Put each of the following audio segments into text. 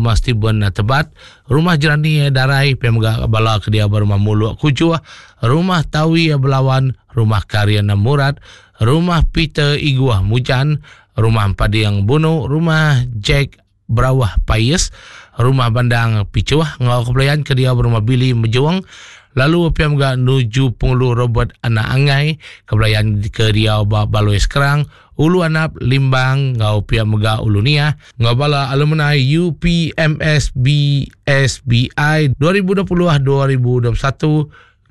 Rumah Steven Tebat, Rumah Jerani Darai, pia mega bala ke diau ba Rumah Muluk Kujuh, Rumah Tawi Belawan, Rumah Karin Murat, Rumah Peter Iguh Mujan, Rumah Empading Bunu, Rumah Jack Berawah Pais, Rumah Bandang Pichuh enggau kebelayan ke diau ba Rumah Billy Mejung, lalu pia mega nuju Pengulu Robert Anak Angai, kebelayan ke diau ba Baloi Skrang, Ulu Anap, Limbang enggau pia mega Ulu Niah enggau bala alumni UPMS BSBI 2020 2021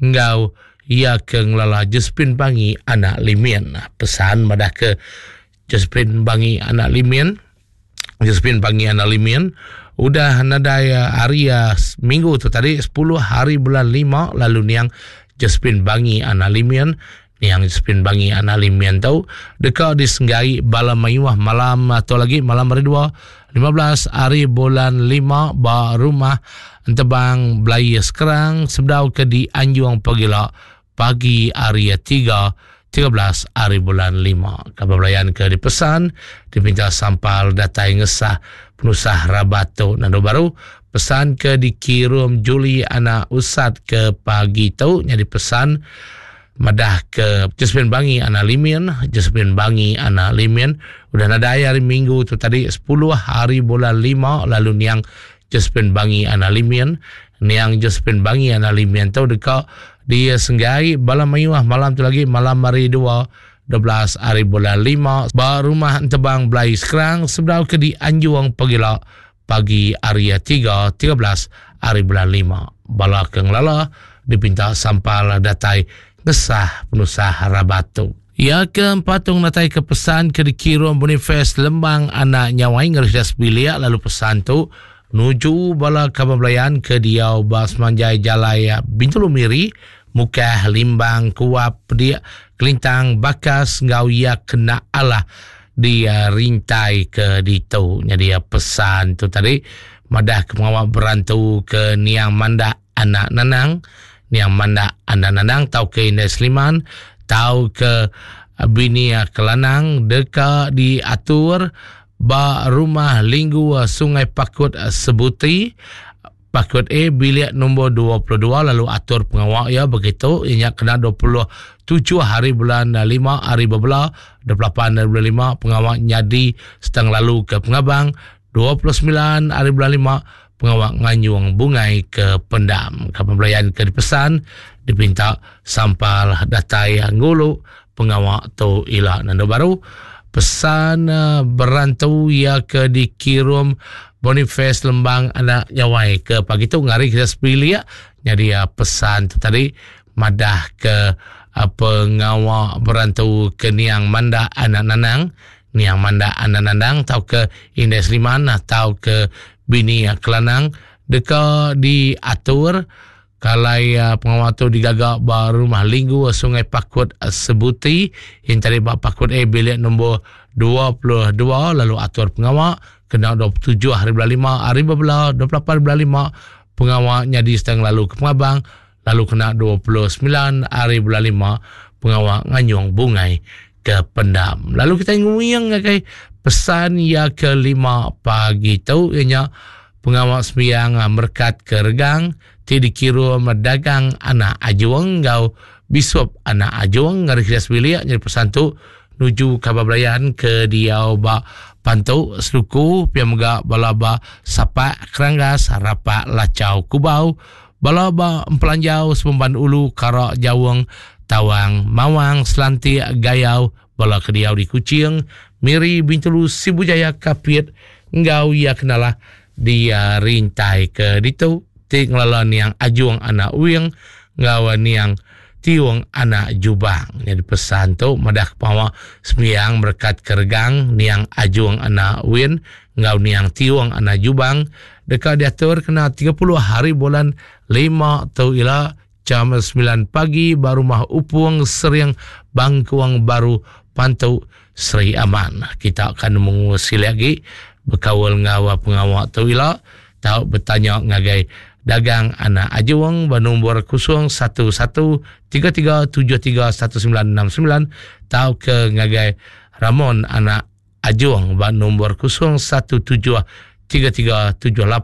enggau iya ke ngelala Josephine Bangi anak Limin. Pesan madah ke Josephine Bangi anak Limin Josephine Bangi anak Limin udah nadai eh, hari eh, minggu tu tadi 10 hari bulan 5 lalu niang Josephine Bangi anak Limin niang Josephine Bangi anak Limin tu deka disenggai bala mayuh malam atau lagi malam hari 2 15 hari bulan 5 ba rumah Entebang Belai Sekerang sebedau ke di Anjung Pegila pagi hari 3 13 hari bulan 5. Kaban belayan ke dipesan dipinta sampal datai ngesah penusah rabat tu nandu baru. Pesan ke dikirum Julie anak Usat ke pagi tu nyadi pesan madah ke Josephine Bangi anak Limin, Josephine Bangi anak Limin udah nadai hari Minggu tu tadi 10 hari bulan 5 lalu niang Josephine Bangi anak Limin niang Josephine Bangi anak Limin tu deka disenggai bala mayuh malam tu lagi malam hari 2 12 hari bulan 5 ba rumah Entebang Belai Skrang sebedau ke dianjung pegila pagi hari 3 13 hari bulan 5. Bala ke ngelala dipinta sampal datai ngesah penusah rabat tu. Iya ke empatung datai ke pesan ke dikirum Boniface Lembang anak Nyawai ngereja sebilik lalu pesan tu nuju bala kaban belayan ke diau ba semanjai jalai Bintulu Miri, Mukah, Limbang, Kuap, Pedik, Kelintang, Bakas enggau iya kena alah di rintai ke ditu. Nyadi pesan tu tadi madah ke pengawa berantu ke niang mandak anak Nanang, niang mandak anak Nanang tauka Indai Seliman tauka bini Kelanang deka diatur ba Rumah Linggu Sungai Pakut Sebuti, Pakut A bilik nombor 22 lalu atur pengawa iya begitu iya nya kena 27 hari bulan 5 hari bebela 28 hari bulan 5 pengawa nyadi setang lalu ke pengabang 29 hari bulan 5 pengawa nganyung bungai ke pendam. Kaban belayan ke dipesan dipinta sampal datai ngulu pengawa tu ila nandu baru pesan eh, berantu iya ke dikirum Boniface Lembang anak Nyawai ke pagi tu ngari kita sebilik nyadi eh, pesan tu tadi madah ke eh, pengawa berantu ke niang Manda anak Nanang niang Manda anak Nandang tauka Indai Seliman tauka bini Kelanang deka diatur Kalai pengawa tu digaga ba Rumah Linggu Sungai Pakut Sebuti yang tadi ba Pakut A bilik nombor 22 lalu atur pengawa kena 27 hari bulan 5 hari bebela 28 hari bulan 5 pengawa nyadi setengah lalu ke pengabang lalu kena 29 hari bulan 5 pengawa nganyung bungai ke pendam. Lalu kita nguing ngagai pesan ya ke lima pagi tu ianya pengawa sembiang merekat ke regang ti dikirum dagang anak Ajung enggau Bisup anak Ajung ngagai sida sebilik nyadi pesan tu nuju kaban belayan ke diau ba Pantu Seduku pia mega bala ba Sapak Keranggas Rapak Lachau Kubau bala ba Empelanjau Sememban Ulu Kara Jaung Tawang Mawang Selantik Gayau Bala ke diau di Kuching, Miri, Bintulu, Sibu Jaya, Kapit enggau iya kenalah di rintai ke ditu ti ngelala niang Ajung anak Wing enggau niang Tiung anak Jubang. Nyadi pesan tu madah ke pengawa sembiang merekat ke regang niang Ajung anak Win enggau niang Tiung anak Jubang deka diatur kena 30 hari bulan 5 tu ila Jam 9 pagi ba Rumah Upung Sering Bangkuang Baru Pantu Sri Aman. Kita akan nemu silik agi bekaul enggau pengawa tu ila tau betanya ngagai Dagang Anak Ajung ba nombor 011 3373 1969 tauka ngagai Ramon Anak Ajung ba nombor 017 3378.